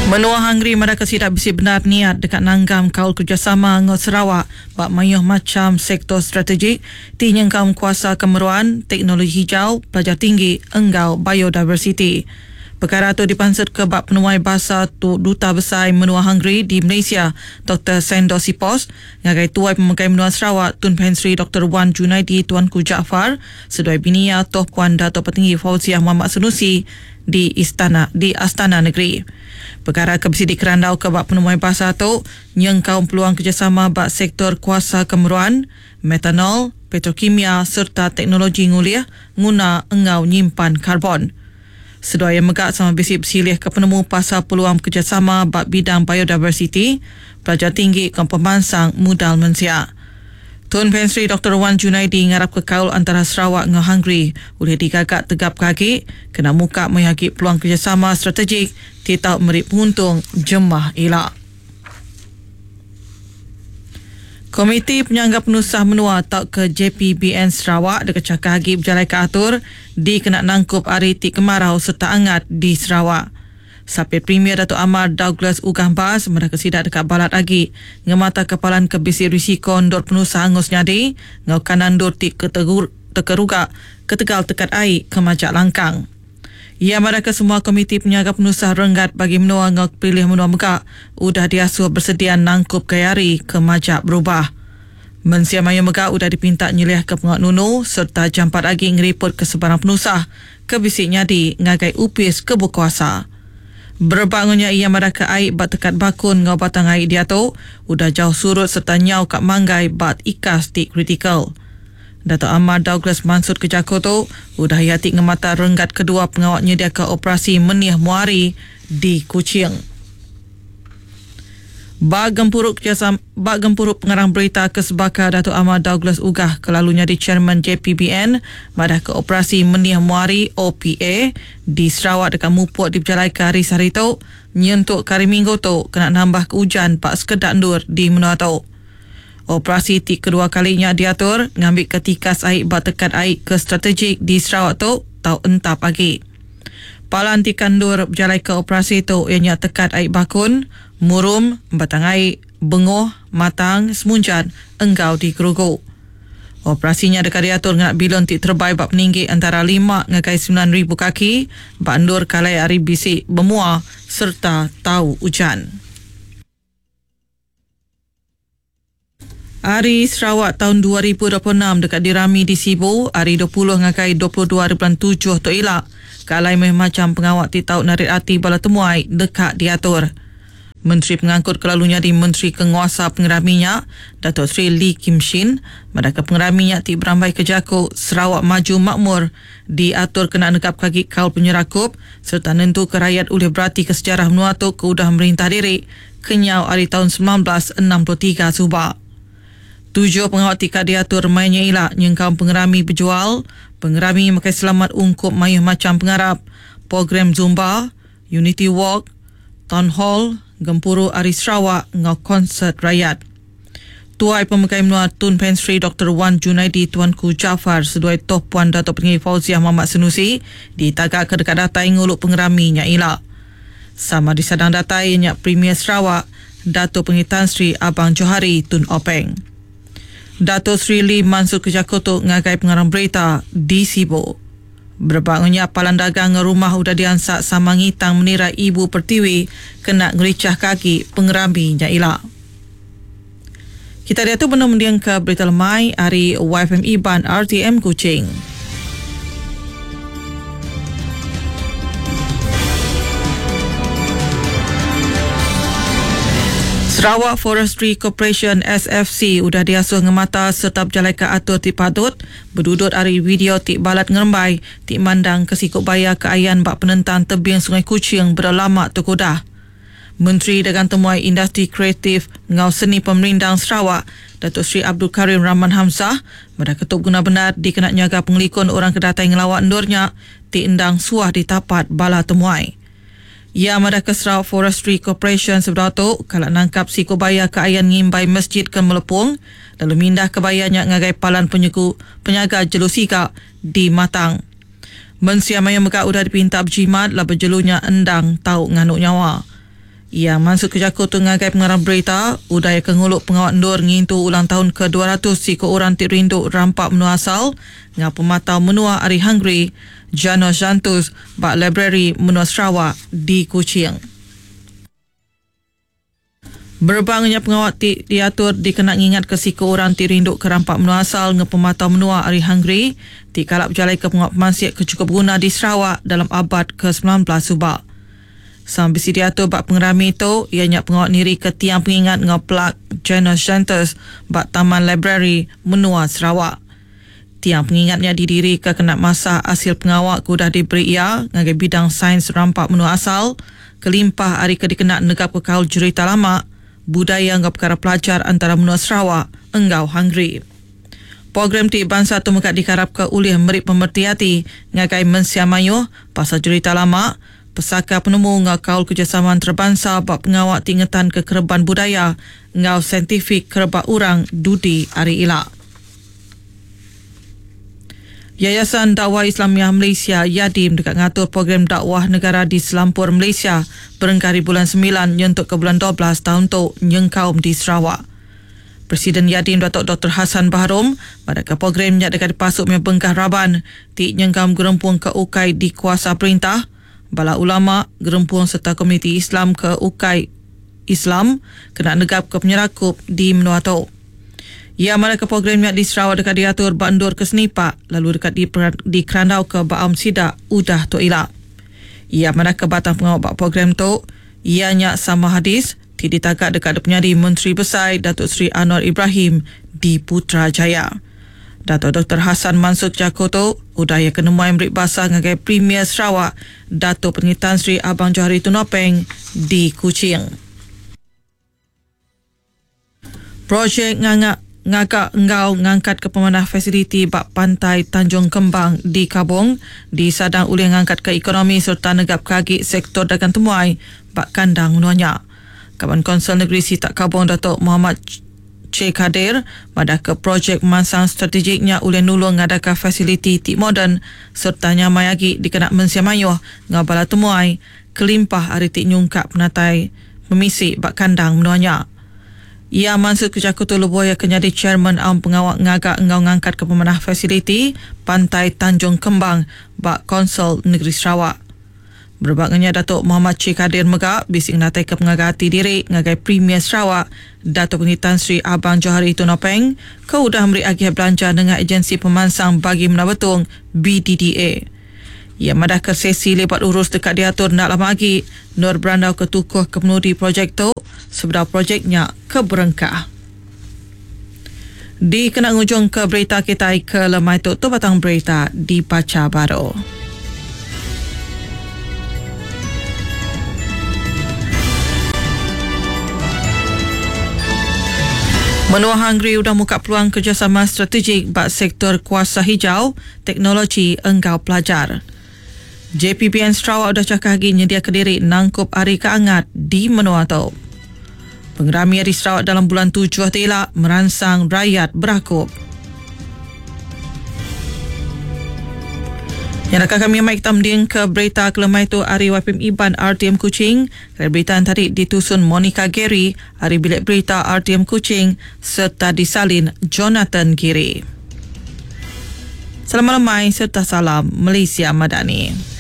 Menua Hungary madahka sida bisi bendar niat deka nanggam kaul kerejasama enggau Sarawak ba mayuh macham sektor strategik ti nyengkaum kuasa ke meruan, teknologi hijau, pelajar tinggi enggau biodiversiti. Pekara tu dipansutka ba penemuai basa tu Duta Besai Menua Hungary di Malaysia Doktor Sandor Sipos ngagai Tuai Pemegai Menua Sarawak Tun Pehin Sri Doktor Wan Junaidi Tuanku Jaafar seduai bini iya Toh Puan Datuk Patinggi Fauziah Mohamad Sanusi di Istana di Astana Negeri. Pekara ke bisi dikerandauka ba penemuai basa tu nyengkaum peluang kerejasama ba sektor kuasa ke meruan, metanol, petrokimia sereta teknologi ngulih, nguna enggau nyimpan karbon. Seduai iya mega sama bisi besilihka penemu pasal peluang bekerejasama ba bidang biodiversiti, pelajar tinggi enggau pemansang mudal mensia. Tun Pehin Sri Doktor Wan Junaidi ngarapka kaul antara Sarawak enggau Hungary ulih digaga tegapka agi kena muka mayuh agi peluang kerejasama strategik ti tau meri penguntung jemah ila. Komiti Penyangga Penusah Menua tauka JPBN Sarawak deka chakah agi bejalaika atur dikena nangkup hari ti kemarau sereta angat di Sarawak. Sapit Premier Datuk Amar Douglas Uggah Embas madahka sida deka balat agi ngemataka palan ke bisi risiko endur penusah angus nyadi enggau kandang endur ti tekeruga ketegal tekat ai ke majak langkang. Iya madahka semua komiti penyaga penusah renggat bagi menua enggau pelilih menua mega udah diasuh besedia nangkup gaya hari ke majak berubah. Mensia mayuh mega udah dipinta nyeliahka pengawa nunu sereta jampat agi ngeripotka sebarang penusah ke bisi nyadi ngagai opis ke bekuasa. Berebak enggau nya iya madahka ai ba tekat Bakun enggau Batang Ai diatu udah jauh surut sereta nyau ka manggai ba ikas ti kritikal. Datuk Amar Douglas mansutka jaku tu udah iya ti ngemata renggat kedua pengawa nyediaka operasi Menih Muari di Kuching. Ba gempuru kerejasama ba gempuru pengarang berita ke sebaka Datuk Amar Douglas Uggah ke lalu nyadi Chairman JPBN madahka Operasi Menih Muari, OPA, di Sarawak deka mupuk dipejalaika hari sehari tu nyentuk ke hari Minggu tu kena nambahka ujan ba sekeda endur di menua tu. Operasi ti kedua kali nya diatur ngambika tikas ai ba tekat ai ke strategik di Sarawak tu tau entap agi. Palan ti ka endur bejalaika operasi tu iya nya Tekat Ai Bakun, Murum, Batang Ai, Bengoh, Matang, Semunjan enggau di Gerugu. Operasi nya deka diatur ngena bilun ti terebai ba peninggi entara lima ngagai 9000 kaki ba endur ke alai hari bisi bemua sereta tau ujan. Hari Sarawak taun 2026 deka dirami di Sibu ari 20 ngagai 22 hari bulan tujuh tu ila ke alai mayuh macham pengawa ti tau narit ati bala temuai deka diatur. Menteri Pengangkut ke lalu nyadi Menteri ke Nguasa Pengerami nya, Datuk Seri Lee Kim Shin, madahka pengerami nya ti berambaika jaku Sarawak Maju Makmur diatur kena negapka agi kaul penyerakup sereta nentuka rayat ulih beratika sejarah menua tu ke udah merintah diri kenyau ari taun 1963 suba. Tuju pengawa ti ka diatur maya nya ila nyengkaum pengerami bejual, pengerami makai selamat ungkup mayuh macham pengarap, program Zumba, Unity Walk, Town Hall, Gempuru Ari Sarawak enggau konsert rayat. Tuai Pemegai Menua Tun Pehin Sri Doktor Wan Junaidi Tuanku Jaafar seduai Toh Puan Datuk Pengingi Fauziah Mohamad Sanusi ditagaka deka datai ngulu pengerami nya ila. Sama disadang datai iya nya Premier Sarawak, Datuk Pengingi Tan Sri Abang Johari Tun Openg. Dato Sri Lee mansutka jaku tu ngagai pengarang berita di Sibu. Berebak enggau nya, palan dagang enggau rumah udah diansak sama ngitang menira Ibu Pertiwi kena ngerichahka agi pengerami nya ila. Kita diatu benung mendingka berita lemai ari YFM Iban RTM Kuching. Sarawak Forestry Corporation, SFC, udah diasuh ngemata sereta bejalaika atur ti patut bedudut ari video ti balat ngerembai ti mandangka siku baya ke ayan ba penentang tebing Sungai Kuching bedau lama tu ke udah. Menteri Dagang Temuai Industri Kreatif enggau Seni Pemerindang Sarawak, Datuk Seri Abdul Karim Rahman Hamzah, madah ke tu beguna bendar dikena nyaga pengelikun orang ke datai ngelawa endur nya ti endang suah ditapat bala temuai. Iya madah ke Sarawak Forestry Corporation sebedau tu kala nangkap siku baya ke ayan ngimbai Masjid ke Melepung lalu mindahka baya nya ngagai palan penyegu penyaga jelu siga di Matang. Mensia mayuh mega udah dipinta bejimat laban jelu nya endang tau nganu nyawa. Iya mansut ke jaku tu ngagai pengarang berita udah iya ke ngulu pengawa endur ngintu ulang taun ke 200 siku orang ti rindu rampa menua asal enggau pematau menua ari Hungary, Janos Jantus ba Librari Menua Sarawak di Kuching. Berebak enggau nya pengawa ti diatur dikena ngingatka siku orang ti rindu ke rampa menua asal enggau pematau menua ari Hungary ti kala bejalaika pengawa pemansik ke chukup beguna di Sarawak dalam abad ke 19 suba. Sama bisi diatur ba pengerami tu iya nya pengawa nirika tiang pengingat enggau plak Janos Jantus ba Taman Librari Menua Sarawak. Tiang pengingat nya didirika kena masa asil pengawa ke udah diberi iya ngagai bidang sains rampa menua asal kelimpah ari ke dikena negapka kaul jerita lama, budaya enggau pekara pelajar antara menua Sarawak enggau Hungary. Program ti bansa tu mega dikarapka ulih meri pemereti ati ngagai mensia mayuh pasal jerita lama, pesaka penemu enggau kaul kerejasama entarabansa ba pengawa ti ngetanka kereban budaya enggau saintifik kerebak orang dudi hari ila. Yayasan Dakwah Islamiah Malaysia, YADIM, deka ngatur program dakwah negara di selampur Malaysia berengkah ari bulan semilan nyentuk ke bulan 12 taun tu nyengkaum di Sarawak. Presiden YADIM Datuk Doktor Hassan Baharom madahka program nya deka dipasuk mih bengkah raban ti nyengkaum gerempung ke ukai dikuasa perintah, bala ulama, gerempung sereta komuniti Islam ke ukai Islam kena negapka penyerakup di menua tu. Iya madahka program nya di Sarawak deka diatur ba endur ke senipak lalu deka dikerandauka ba aum sida udah tu ila. Iya madahka batang pengawa ba program tu iya nya sama hadis ti ditaga deka dipenyadi Menteri Besai Datuk Seri Anwar Ibrahim di Putrajaya. Datuk Doktor Hassan mansut jaku tu udah iya ke nemuai meri basa ngagai Premier Sarawak Datuk Patinggi Tan Sri Abang Johari Tun Openg di Kuching. Projek nganga ngaga enggau ngangkatka pemanah fasiliti ba Pantai Tanjung Kembang di Kabong disadang ulih ngangkatka ekonomi sereta negapka agi sektor dagang temuai ba kandang menua nya. Kaban Kaunsil Negeri Sitak Kabong Datuk Mohamad Che Kadir madahka projek pemansang strategik nya ulih nulung ngadaka fasiliti ti moden sereta nyamai agi dikena mensia mayuh enggau bala temuai kelimpah ari ti nyungkak penatai pemisi ba kandang menua nya. Iya mansutka jaku tu lebuh iya ke nyadi chairman Aum Pengawa Ngaga enggau Ngangkatka Pemanah Fasiliti Pantai Tanjung Kembang ba Kaunsil Negeri Sarawak. Berebak enggau nya Datuk Mohamad Chee Kadir mega bisi ngenataika pengaga ati diri ngagai Premier Sarawak Datuk Patinggi Tan Sri Abang Johari Tun Openg ke udah meri agih belanja nengah Ejensi Pemansang Bagi Menua Betong, BDDA. Iya madahka sesi libat urus deka diatur enda lama agi endur berandauka tukuh ke penudi projek tu sebedau projek nya ke berengkah. Dikena ngujungka berita kitai ke lemai tu, tu batang berita dibacha baru. Menua Hungary udah muka peluang kerejasama strategik ba sektor kuasa hijau, teknologi enggau pelajar. JPBN Sarawak udah chakah agi nyediaka diri nangkup hari ke angat di menua tu. Pengerami Hari Sarawak dalam bulan tujuh ti ila meransang rayat berakup. Nya naka kami mai kita mending ke berita ke lemai tu ari YPM Iban RTM Kuching. Kena berita tadi ditusun Monica Gary ari Bilik Berita RTM Kuching sereta disalin Jonathan Giri. Selamat lemai sereta salam Malaysia Madani.